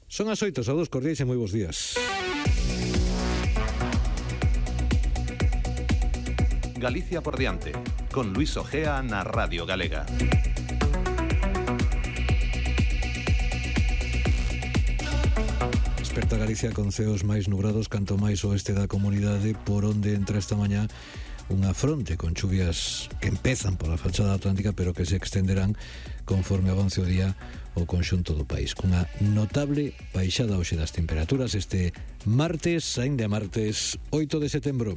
Son as 8, saúdos cordiais e moi bons días. Galicia por diante, con Luis Ojea na Radio Galega. Desperta Galicia con ceos máis nubrados canto máis oeste da comunidade, por onde entra esta mañá unha fronte con chuvias que empezan pola fachada atlántica pero que se extenderán conforme avance o día o conxunto do país, cunha notable baixada hoxe das temperaturas este martes, aínda martes 8 de setembro.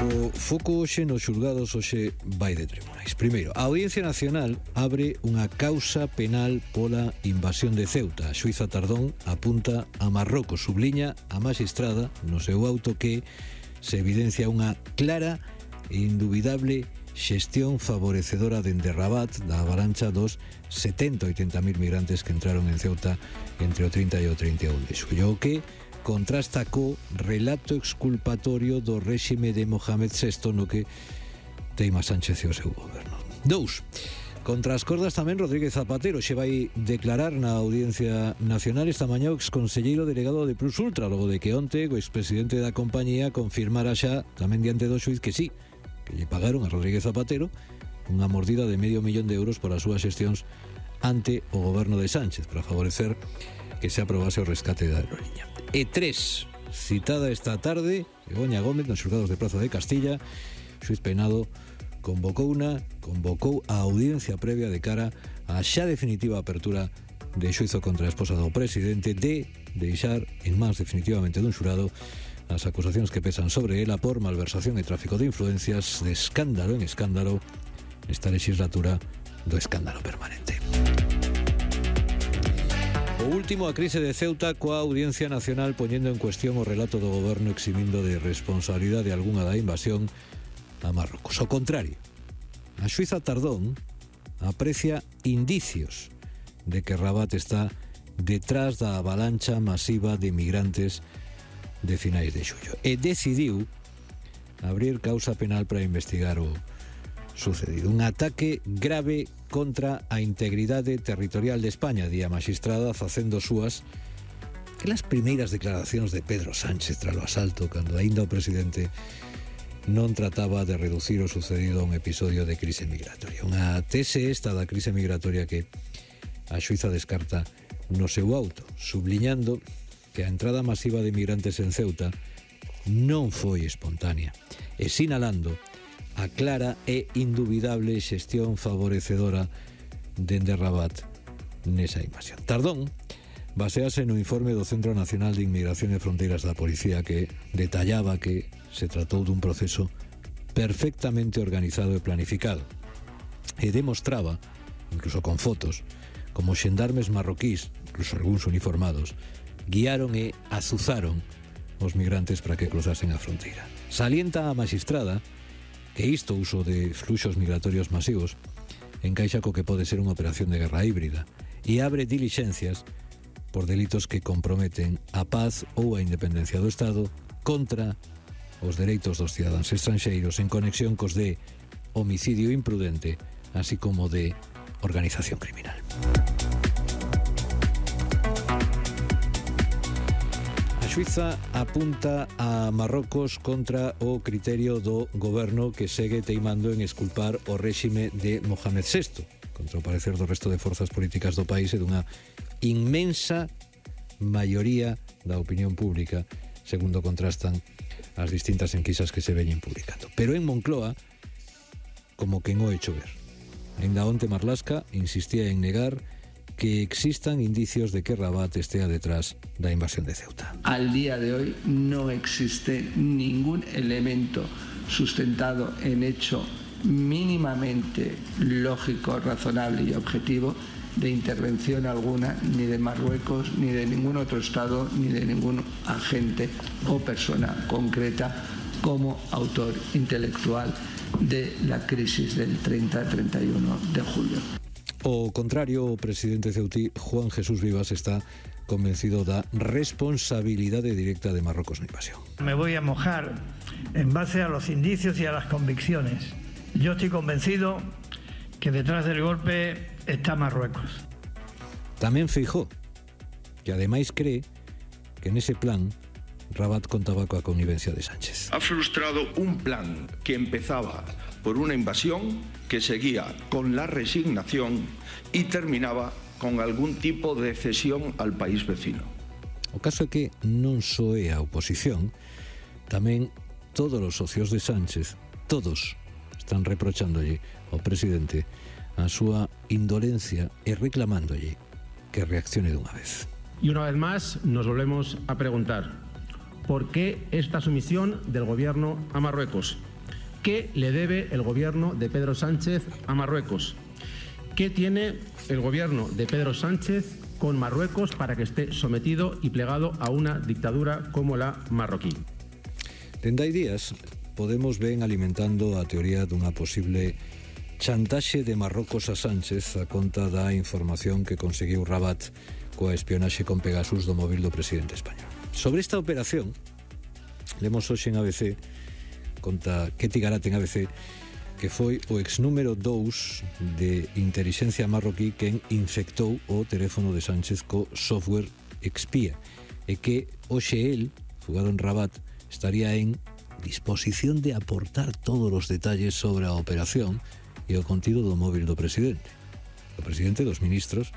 O foco hoxe nos xulgados hoxe vai de tribunais. Primeiro, a Audiencia Nacional abre unha causa penal pola invasión de Ceuta. A xuíza Tardón apunta a Marrocos, subliña a magistrada no seu auto que se evidencia unha clara e indubidable xestión favorecedora dende Rabat da avalancha dos 70-80.000 migrantes que entraron en Ceuta entre o 30 e o 31 de xullo, o que contrasta co relato exculpatorio do réxime de Mohamed VI no que teima Sánchez e o seu goberno. 2. Contra as cordas tamén Rodríguez Zapatero xe vai declarar na Audiencia Nacional esta mañá o exconselleiro delegado de Plus Ultra, logo de que onte o expresidente da compañía confirmara xa tamén diante do xuiz que sí, que lle pagaron a Rodríguez Zapatero unha mordida de €500.000 por as súas xestións ante o goberno de Sánchez para favorecer que se aprobase o rescate da aerolínea. E 3, citada esta tarde, Begoña Gómez nos xulgados de Praza de Castilla, xuiz penado convocou a audiencia previa de cara á xa definitiva apertura de xuizo contra a esposa do presidente de deixar en mans definitivamente dun xurado as acusacións que pesan sobre ela por malversación e tráfico de influencias de escándalo en escándalo nesta legislatura do escándalo permanente. O último, a crise de Ceuta coa Audiencia Nacional poñendo en cuestión o relato do goberno eximindo de responsabilidade algunha da invasión a Marrocos. Ao contrario, a xuíza Tardón aprecia indicios de que Rabat está detrás da avalancha masiva de migrantes de finais de xullo e decidiu abrir causa penal para investigar o sucedido. Un ataque grave contra a integridade territorial de España, di a magistrada facendo súas que las primeiras declaracións de Pedro Sánchez tras o asalto, cando aínda o presidente non trataba de reducir o sucedido a un episodio de crise migratoria. Unha tese esta da crise migratoria que a xuíza descarta no seu auto, subliñando que a entrada masiva de migrantes en Ceuta non foi espontánea e sinalando a clara e indubidable xestión favorecedora dende Rabat nesa invasión. Tardón basease no informe do Centro Nacional de Inmigración e Fronteiras da Policía que detallaba que se tratou dun proceso perfectamente organizado e planificado e demostraba, incluso con fotos, como xendarmes marroquís, incluso algúns uniformados, guiaron e azuzaron os migrantes para que cruzasen a fronteira. Salienta a magistrada que isto uso de fluxos migratorios masivos encaixa co que pode ser unha operación de guerra híbrida e abre dilixencias por delitos que comprometen a paz ou a independencia do Estado contra os dereitos dos cidadáns estranxeiros en conexión cos de homicidio imprudente, así como de organización criminal. A xuíza apunta a Marrocos contra o criterio do goberno que segue teimando en exculpar o réxime de Mohamed VI, contra o parecer do resto de forzas políticas do país e dunha inmensa maioría da opinión pública, segundo contrastan as distintas enquisas que se veñen publicando. Pero en Moncloa, como quen o hecho ver. Ainda onte Marlaska insistía en negar que existan indicios de que Rabat estea detrás da invasión de Ceuta. Al día de hoy no existe ningún elemento sustentado en hecho mínimamente lógico, razonable y objetivo de intervención alguna ni de Marruecos, ni de ningún otro Estado, ni de ningún agente o persona concreta como autor intelectual de la crisis del 30-31 de julio. O contrario, o presidente ceutí Juan Jesús Vivas está convencido da responsabilidade directa de Marruecos na invasión. Me voy a mojar en base a los indicios y a las convicciones. Yo estoy convencido que detrás del golpe está Marruecos. Tamén Feijóo, que ademais cree que nese plan Rabat contaba coa connivencia de Sánchez. Ha frustrado un plan que empezaba por una invasión, que seguía con la resignación y terminaba con algún tipo de cesión al país vecino. O caso é que non só é a oposición, tamén todos os socios de Sánchez, todos están reprochandolle ao presidente a súa indolencia e reclamándolle que reaccione dunha vez. Y una vez más nos volvemos a preguntar, ¿por qué esta sumisión del gobierno a Marruecos? ¿Qué le debe el gobierno de Pedro Sánchez a Marruecos? ¿Qué tiene el gobierno de Pedro Sánchez con Marruecos para que esté sometido y plegado a una dictadura como la marroquí? Dende hai días, Podemos ven alimentando a teoría dunha posible chantaxe de Marrocos a Sánchez a conta da información que conseguiu Rabat coa espionaxe con Pegasus do móvil do presidente español. Sobre esta operación, lemos hoxe en ABC, conta Ketty Garat en ABC, que foi o ex número 2 de Intelixencia marroquí quen infectou o teléfono de Sánchez co software Expía e que hoxe el, fugado en Rabat, estaría en disposición de aportar todos os detalles sobre a operación e o contido do móvil do presidente. O presidente dos ministros,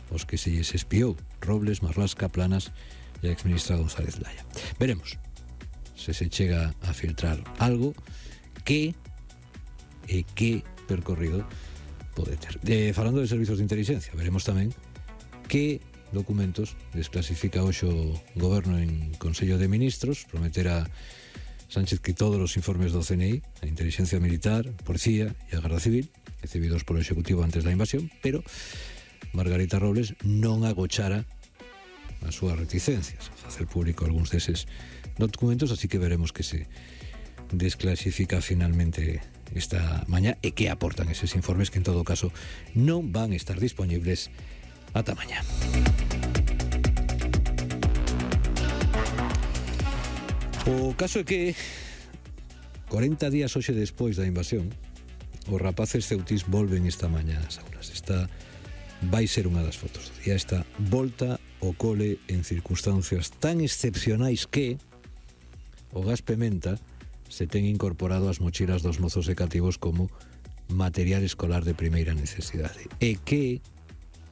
os que se lles espiou, Robles, Marlaska, Planas e a exministra González Laya. Veremos se se chega a filtrar algo que percorrido pode ter. Falando de servizos de inteligencia, veremos tamén que documentos desclasifica hoxe o goberno en Consello de Ministros. Prometera Sánchez que todos os informes do CNI, a inteligencia militar, policía e a Garda Civil, recibidos polo Executivo antes da invasión, pero Margarita Robles non agochara as súas reticencias a facer público algúns deses documentos, así que veremos que se desclasifica finalmente esta mañá e que aportan eses informes que en todo caso non van a estar disponibles ata mañá. O caso é que 40 días hoxe despois da invasión, os rapaces ceutís volven esta mañá ás aulas. Esta vai ser unha das fotos do día. Esta volta ao cole en circunstancias tan excepcionais que o gas pementa se ten incorporado ás mochilas dos mozos de cativos como material escolar de primeira necesidade e que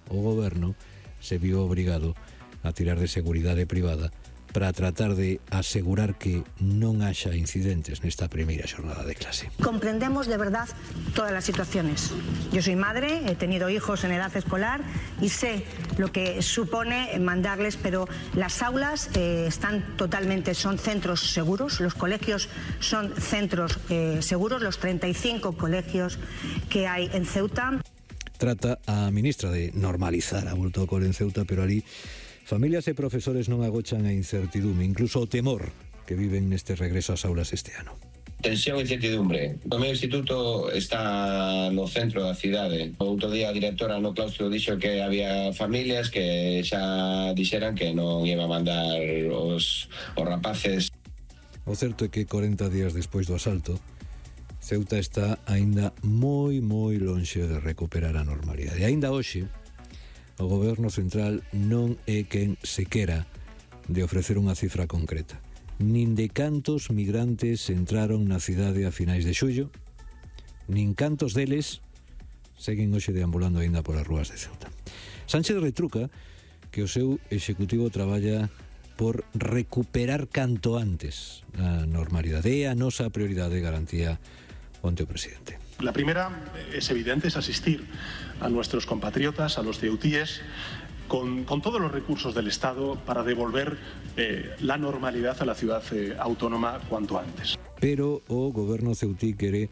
o goberno se viu obrigado a tirar de seguridade privada para tratar de asegurar que non haxa incidentes nesta primeira xornada de clase. Comprendemos de verdad todas las situaciones. Yo soy madre, he tenido hijos en edad escolar y sé lo que supone mandarles, pero las aulas son centros seguros, los colegios son centros seguros, los 35 colegios que hay en Ceuta. Trata a ministra de normalizar a volta ao cole en Ceuta, pero ali familias e profesores non agochan a incertidume, incluso o temor que viven neste regreso ás aulas este ano. Tensión e incertidumbre. O meu instituto está no centro da cidade. O outro día a directora no claustro dixo que había familias que xa dixeran que non iba a mandar os rapaces. O certo é que 40 días despois do asalto, Ceuta está aínda moi lonxe de recuperar a normalidade. E aínda hoxe, o goberno central non é quen sequera de ofrecer unha cifra concreta, nin de cantos migrantes entraron na cidade a finais de xullo, nin cantos deles seguen hoxe deambulando aínda polas rúas de Ceuta. Sánchez retruca que o seu executivo traballa por recuperar canto antes a normalidade. É a nosa prioridade, garantía onte o presidente. La primera es evidente, es asistir a nuestros compatriotas, a los ceutíes, con todos los recursos del Estado para devolver la normalidad a la ciudad autónoma cuanto antes. Pero o goberno ceutí quere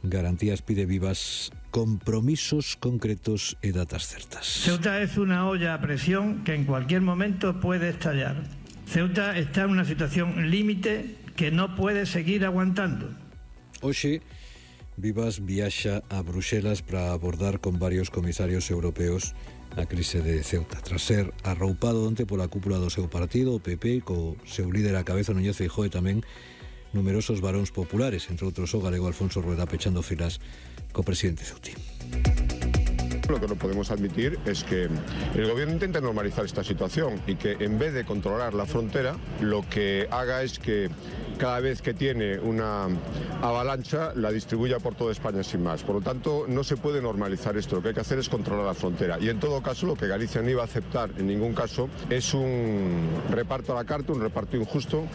garantías pide vivas, compromisos concretos e datas certas. Ceuta es una olla a presión que en cualquier momento puede estallar. Ceuta está en una situación límite que no puede seguir aguantando. Hoxe, Vivas viaxa a Bruxelas para abordar con varios comisarios europeos a crise de Ceuta, tras ser arroupado onte pola cúpula do seu partido, o PP, co seu líder a cabeza Núñez Feijóo e tamén numerosos varóns populares, entre outros o galego Alfonso Rueda, pechando filas co presidente ceutí. Lo que no podemos admitir es que el gobierno intente normalizar esta situación y que en vez de controlar la frontera, lo que haga es que cada vez que tiene una avalancha la distribuya por toda España sin más. Por lo tanto, no se puede normalizar esto. Lo que hay que hacer es controlar la frontera. Y en todo caso, lo que Galicia no iba a aceptar en ningún caso es un reparto a la carta, un reparto injusto,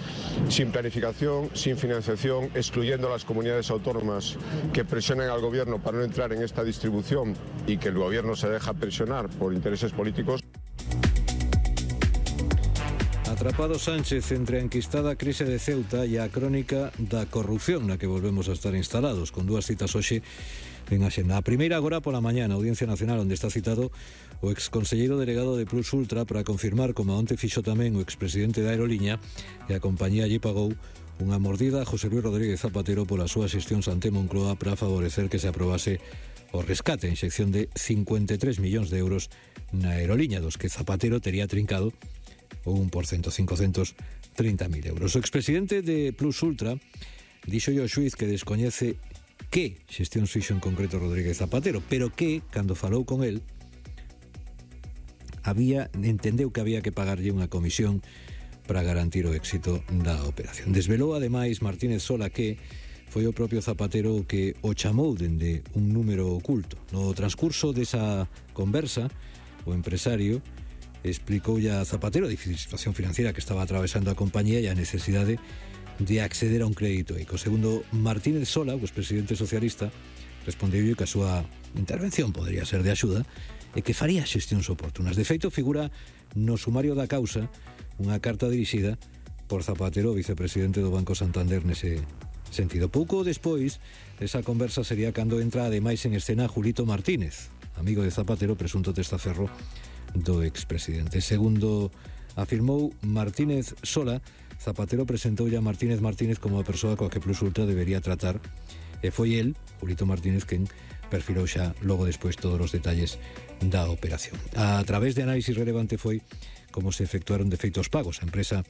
sin planificación, sin financiación, excluyendo a las comunidades autónomas que presionen al gobierno para no entrar en esta distribución y que el gobierno se deja presionar por intereses políticos. Atrapado Sánchez entre a enquistada crise de Ceuta e a crónica da corrupción na que volvemos a estar instalados, con dúas citas hoxe en Axenda. A primeira agora pola mañá na Audiencia Nacional, onde está citado o exconselleiro delegado de Plus Ultra para confirmar, como onte fixo tamén o expresidente da Aeroliña, que a compañía lle pagou unha mordida a José Luis Rodríguez Zapatero pola súa xestión ante Moncloa para favorecer que se aprobase o rescate a inxección de 53 millóns de euros na Aeroliña, dos que Zapatero tería trincado o 1%, 530.000 euros. O expresidente de Plus Ultra dixo ao xuiz que descoñece que xestión fixo en concreto Rodríguez Zapatero, pero que, cando falou con el, entendeu que había que pagarlle unha comisión para garantir o éxito da operación. Desvelou ademais Martínez Sola que foi o propio Zapatero o que o chamou dende un número oculto. No transcurso desa conversa, o empresario explicou a Zapatero a difícil situación financiera que estaba atravesando a compañía e a necesidade de acceder a un crédito ICO. Segundo Martínez Sola, o expresidente socialista, respondeu que a súa intervención podría ser de axuda e que faría xestións oportunas. De feito, figura no sumario da causa unha carta dirixida por Zapatero, vicepresidente do Banco Santander, nese sentido. Pouco despois desa conversa sería cando entra ademais en escena Julito Martínez, amigo de Zapatero, presunto testaferro do expresidente. Segundo afirmou Martínez Sola, Zapatero presentou a Martínez como a persoa coa que Plus Ultra debería tratar e foi el, Julito Martínez, quen perfilou xa logo despois todos os detalles da operación. A través de análisis relevante foi como se efectuaron de feito os pagos. A empresa,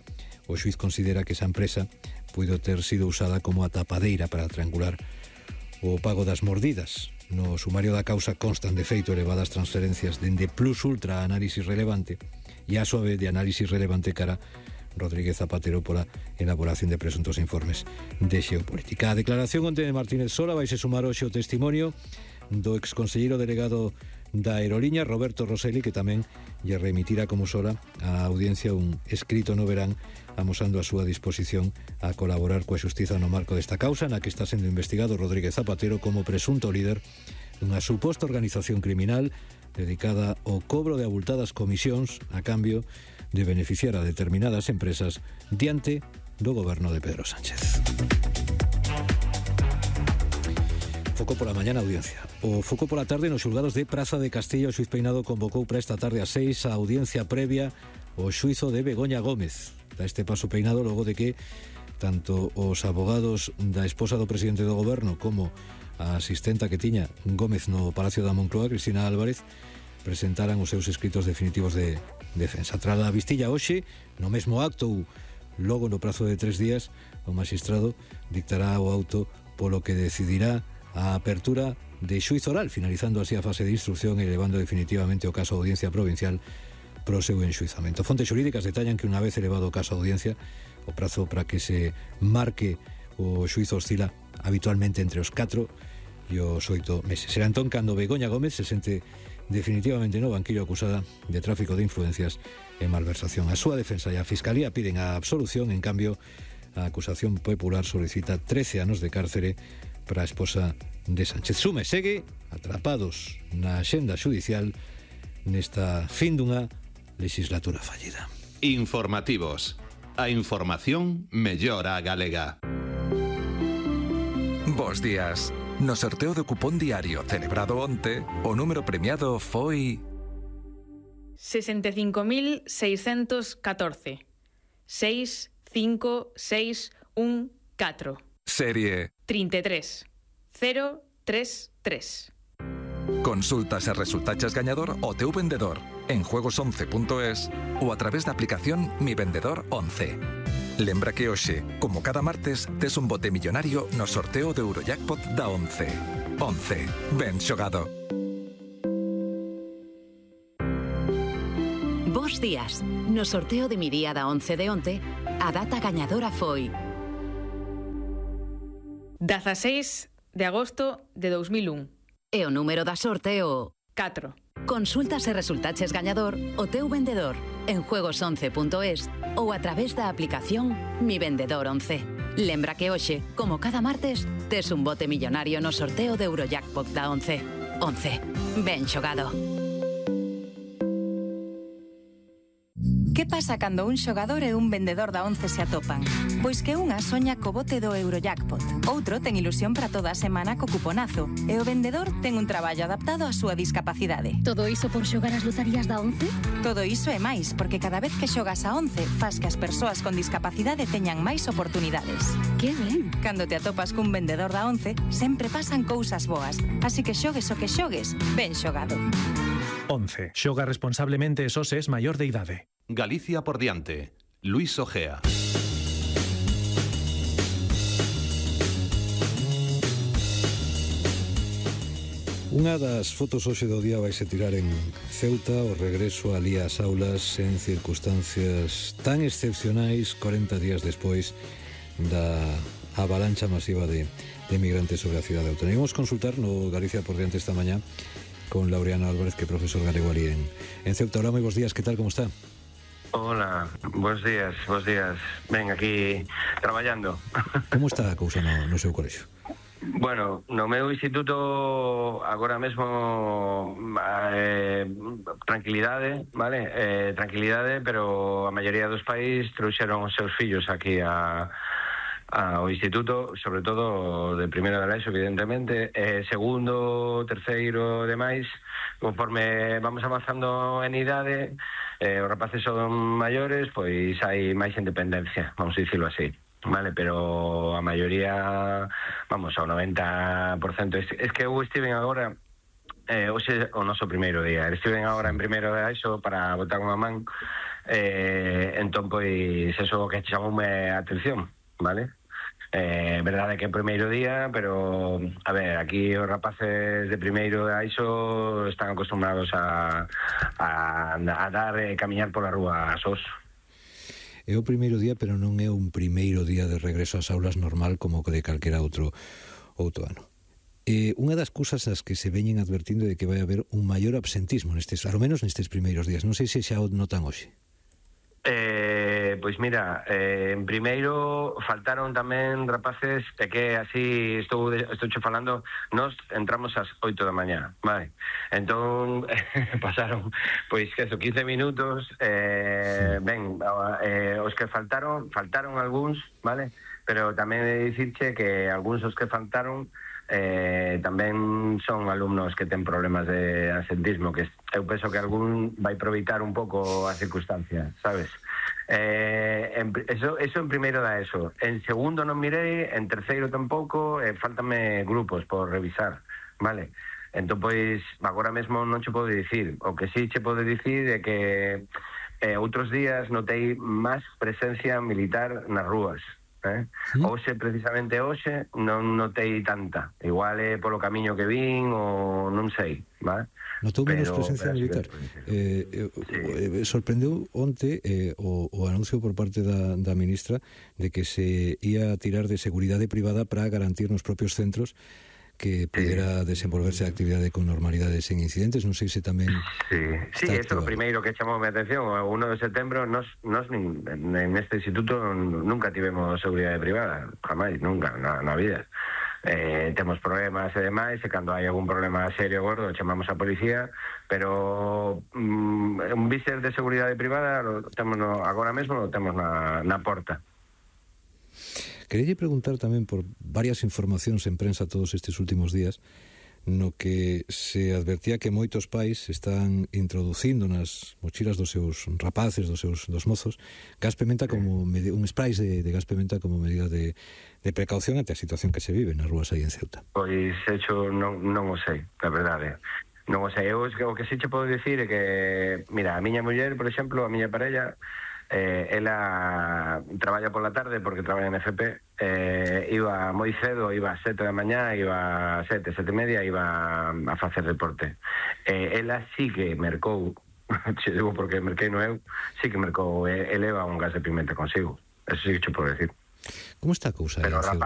o xuiz considera que esa empresa puido ter sido usada como a tapadeira para triangular o pago das mordidas. No sumario da causa constan de feito elevadas transferencias dende Plus Ultra a análisis relevante e a súa vez de análisis relevante cara Rodríguez Zapatero pola elaboración de presuntos informes de xeopolítica. A declaración onte de Martínez Sola vaise sumar hoxe o testimonio do exconselleiro delegado da Aeroliña, Roberto Rosselli, que tamén lle remitirá como Sola á audiencia un escrito no verán amosando a súa disposición a colaborar coa xustiza no marco desta causa na que está sendo investigado Rodríguez Zapatero como presunto líder dunha suposta organización criminal dedicada ao cobro de abultadas comisións a cambio de beneficiar a determinadas empresas diante do goberno de Pedro Sánchez. Foco pola mañá na audiencia. O foco pola tarde nos xulgados de Praza de Castilla. O xuiz Peinado convocou para esta tarde a 6 a audiencia previa o xuizo de Begoña Gómez. Da este paso Peinado logo de que tanto os abogados da esposa do presidente do goberno como a asistenta que tiña Gómez no Palacio da Moncloa, Cristina Álvarez, presentaran os seus escritos definitivos de defensa. Tras a vistilla hoxe, no mesmo acto, logo no prazo de 3 días, o magistrado dictará o auto polo que decidirá a apertura de xuizo oral, finalizando así a fase de instrucción e elevando definitivamente o caso a audiencia provincial pro seu enxuizamento. Fontes xurídicas detallan que unha vez elevado o caso a audiencia, o prazo para que se marque o xuizo oscila habitualmente entre os 4 e os 8 meses. Será entón cando Begoña Gómez se sente definitivamente no banquillo acusada de tráfico de influencias e malversación. A súa defensa e a Fiscalía piden a absolución, en cambio a acusación popular solicita 13 anos de cárcere para a esposa de Sánchez. Sume segue atrapados na axenda xudicial nesta fin dunha legislatura fallida. Informativos. A información mellora a galega. Bos días. No sorteo do cupón diario celebrado onte, o número premiado foi 65.614. 65614. Serie 33033. Consultas e resultaches gañador o teu vendedor en juegos11.es ou a través da aplicación Mi Vendedor 11. Lembra que hoxe, como cada martes, tes un bote millonario no sorteo do Eurojackpot da 11. 11. Ben xogado. Bos días. No sorteo de mi día da 11 de onte, a data gañadora foi 16 de agosto de 2001. E o número da sorte o 4. Consulta se resultaches gañador o teu vendedor en juegos11.es ou a través da aplicación Mi Vendedor 11. Lembra que hoxe, como cada martes, tes un bote millonario no sorteo de Eurojackpot da 11. 11. Ben xogado. Que pasa cando un xogador e un vendedor da 11 se atopan? Pois que unha soña co bote do Eurojackpot, outro ten ilusión para toda a semana co cuponazo e o vendedor ten un traballo adaptado á súa discapacidade. Todo iso por xogar as lotarías da 11? Todo iso e máis, porque cada vez que xogas a 11 fas que as persoas con discapacidade teñan máis oportunidades. Que ben! Cando te atopas cun vendedor da 11, sempre pasan cousas boas, así que xogues o que xogues, ben xogado. 11. Xoga responsablemente e só se es maior de idade. Galicia por diante. Luis Ojea. Unha das fotos hoxe do día vaise tirar en Ceuta, o regreso alí ás aulas en circunstancias tan excepcionais 40 días despois da avalancha masiva de migrantes sobre a cidade autónoma. Vamos consultar no Galicia por diante esta mañá con Laureano Álvarez, que é profesor galego ali en Ceuta. Hola, moi bons días, que tal, como está? Hola, bons días. Ben, aquí traballando. Como está a cousa no seu colexio? Bueno, no meu instituto agora mesmo tranquilidade, vale? Tranquilidade, pero a maioría dos pais trouxeron os seus fillos aquí ao instituto, sobre todo de primeiro de ESO, evidentemente, segundo, terceiro, demais, conforme vamos avanzando en idade, os rapaces son maiores, pois hai máis independencia, vamos a dicirlo así, vale, pero a maioría, vamos, ao 90%, es que eu estiven agora, hoxe o noso primeiro día, estiven agora en primeiro de ESO para botar unha man, entón, pois, eso que chamoume a atención, vale? Verdade que é o primeiro día, pero a ver, aquí os rapaces de primeiro da ISO están acostumbrados a dar e camiñar pola rúa sós. É o primeiro día, pero non é un primeiro día de regreso ás aulas normal como de calquera outro ano. Unha das cousas as que se veñen advertindo de que vai haber un maior absentismo nestes, ao menos nestes primeiros días. Non sei se xa o notan hoxe. Pois mira, en primeiro faltaron tamén rapaces, e que así estou falando, nos entramos ás 8 da mañá, vale? Entón, pasaron, pois, que eso, 15 minutos, ben, os que faltaron algúns, vale? Pero tamén he de dicirche que algúns os que faltaron tamén son alumnos que ten problemas de absentismo, que eu penso que algún vai aproveitar un pouco a circunstancia, sabes? Eso en primeiro da ESO. En segundo non mirei, en terceiro tampouco, faltame grupos por revisar, vale? Entón, pois, agora mesmo non che podo dicir. O que sí che podo dicir é que outros días notei máis presencia militar nas rúas. Hoxe, precisamente hoxe, non notei tanta. Igual é polo camiño que vin ou non sei, vale? Notou menos presencia militar. Sorprendeu onte o anuncio por parte da ministra de que se ia tirar de seguridade privada para garantir nos propios centros que pudera desenvolverse a actividade con normalidade sen incidentes. Non sei se tamén... Sí, eso é o primeiro que chamou a atención. O 1 de setembro nos en este instituto nunca tivemos seguridade privada, jamás, nunca, na vida. Temos problemas e demais, e cando hai algún problema serio gordo chamamos a policía, pero un víster de seguridade privada agora mesmo lo temos na porta. Quería preguntar tamén por varias informacións en prensa todos estes últimos días no que se advertía que moitos pais están introducindo nas mochilas dos seus rapaces, dos mozos, gas pimenta como un spray de gas pimenta como medida de precaución ante a situación que se vive nas rúas aí en Ceuta. Pois, hecho, non o sei, a verdade. Non o sei. O que sí che podo dicir é que, mira, a miña muller, por exemplo, a miña parella, ela traballa pola tarde porque traballa en FP, iba moi cedo, iba a 7 da mañá, iba a 7 e media, iba a facer deporte. Ela sí que mercou Che digo porque merquei no eu, sí que mercou eleva un gas de pimenta consigo. Eso sí que che podo decir. Como está a cousa? Pero rapaz